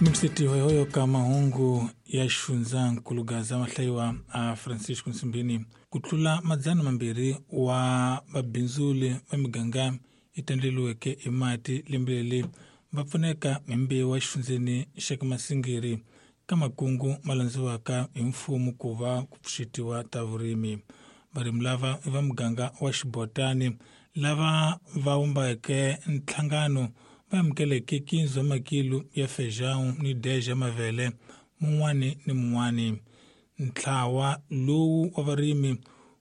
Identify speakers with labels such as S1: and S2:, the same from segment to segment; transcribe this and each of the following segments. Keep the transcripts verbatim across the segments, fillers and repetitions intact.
S1: Minisiti hoyohoyo ka mahungu ya xifundzankulu Gaza mahlayiwa a Francisco Nsimbini ku tlula madzana mambirhi wa vabindzuli va miganga yi tandleliweke hi mati lembe leri va pfuneka hi mbewu exifundzeni xa ka Masingiri ka makungu ma landziwaka hi mfumo ku va ku pfuxetiwa ta vurimi. Varimi lava i va muganga wa Xibotani lava va vumbeke nhlangano va amukeleke quinze wa makilo ya feijão ni dez ya mavele mun'wani ni mun'wani. Ntlawa lowu wa varimi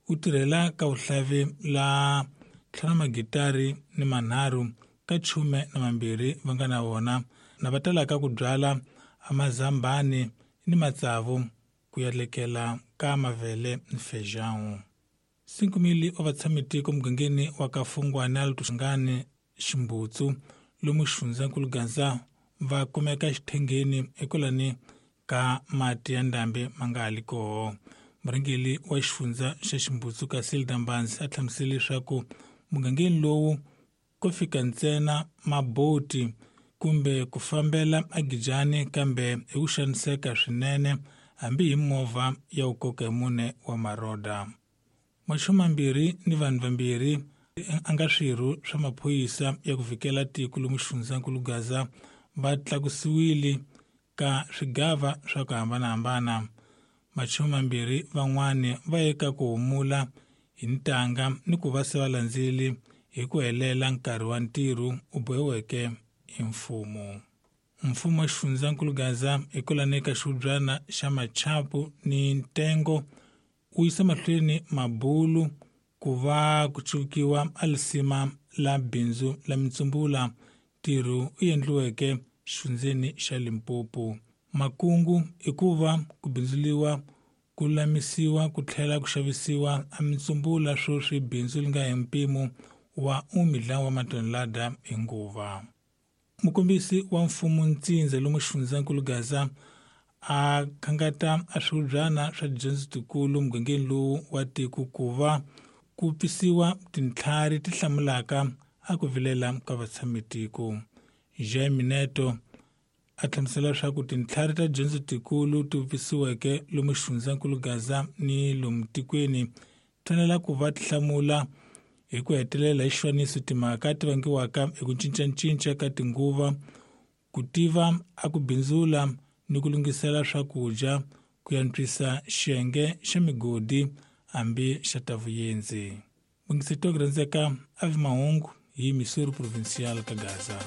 S1: wu tirhela ka vuhlavi la ntlhanu magitari ni manharhu ka chume na mambirhi va nga na wona na va talaka ku byala amazambani ni matsavu ku ya lekela ka mavele ni feijão. Cinco mil wa vatshamitiko mugangeni wa ka Fungwana Lutushangani Ximbutsu lomu xifundzankulu Gaza va kumeka xithengeni ekulani ka mati ya ndhambi ma nga ha li koho. Murhangeri wa xifundza xa Ximbutsu Casilda Mbanzi a hlamusele leswaku mugangeni lowu ko fika ntsena maboti kumbe ku fambela agijani kambe hi ku xaniseka swinene hambi hi movha ya ku koka hi mune wa maroda. Machumu mambirhi ni vanhu vambirhi a nga swirho swa maphorisa ya ku vikela tiko lomu xifundzankulu Gaza va tlakusiwile ka swigava swa ku hambanahambana. Machumu mambirhi van'wani va ye ka ku humula hi ntanga ni ku va se va landzeli hi ku helela nkarhi wa ntirho u bohiweke hi mfumo. Mfumo wa xifundzankulu Gaza hikwalani ka xihubyana xa Machapu ni Ntengo wu yisa mahlweni mabulu ku va ku cukiwa a lisima la bindzu la mitsumbula ntirho u endliweke xifundzeni xa Limpopo. Makungu i ku va ku bindzuliwa ku lulamisiwa ku tlhela ku xavisiwa a mitsumbula sweswi bindzu li nga hi mpimo wa umidla wa matonelada hi nguva. Mukombisi wa mfumo ntsindza lomu xifundzankulu Gaza a khangata a swihubyana swa tidyondzo tikulu mugangeni lowu wa tiko ku va ku pfisiwa tintlhari ti hlamulaka a ku vilela ka vatshamitiko. Jaime Neto a hlamusela leswaku tintlhari ta dyondzo tikulu ti pfisiweke lomu xifundzankulu Gaza ni lomu tikweni ti fanele ku va ti hlamula hi ku hetelela hi xifaniso timhaka ti vangiwaka hi ku cincacinca ka tinguva, ku tiva a ku bindzula ni ku lunghisela swakudya ku antswisa xiyenge xa migodi hambi xa ta vuyendzi. Mungiseti wa ku rhandzeka a vi mahungu hi Missouri Provincial ka Gaza.